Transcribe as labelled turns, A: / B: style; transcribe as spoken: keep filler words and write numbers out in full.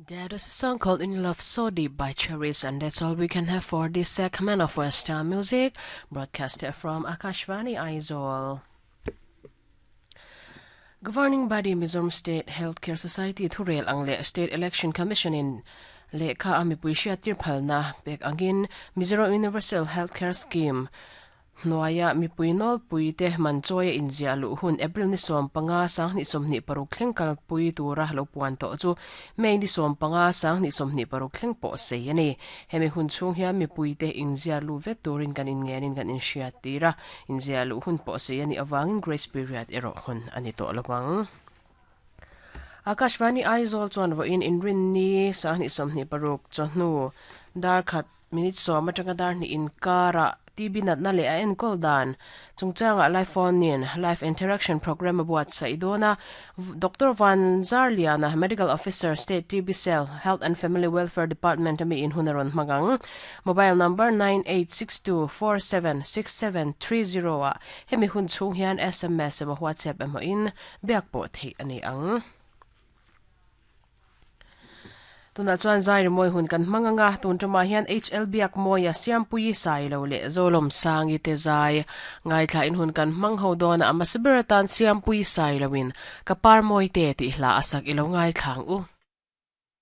A: There is a song called In Love So Deep by Cherries, and that's all we can have for this segment of Western Music, broadcasted from Akashvani Aizawl. Governing body Mizoram State Healthcare Society thurel ang le State Election Commission in lehkha a mipui hriattir phalna pek angin Mizoram Universal Healthcare Scheme hnuaia mipui nawlpui te man chawi a inziah luh hun April ni sawm panga sanghnih sawmhnih paruk thleng kalpui tura lo puan tawh chu May ni sawm panga sanghnih sawmhnih paruk thleng pawh sei a ni. Hemi hun chhung hian mipui te inziah luh vek turin kan inngenin kan inhriat tir a, inziah luh hun pawh sei a nih avangin grace period erawh hun a ni tawh lovang. Akashvani Aizawl chuan vawiin inrin ni sanghnih sawmhnih paruk chawhnu dar khat minute sawm atanga dar hnih inkara T B natna le a enkawl dan chungchanga live phone in live interaction program a buatsaih dawna Doctor Van Zarliana Medical Officer State T B Cell Health and Family Welfare Department ami in hunaron hmangang mobile number nine eight six two four seven six seven three zero a hemi hun chhung hian S M S emaw WhatsApp emaw in biak pawh theih ani ang. Tuna chuan zai moi hun kan hmanganga tun tuma hian H L biak moia siampui sai lo le zolom sangi te zai ngai thla in hun kan hmang ho dona ama siberatan siampui sai lowin kapar moi te ti hla asak ilo ngai thlang u.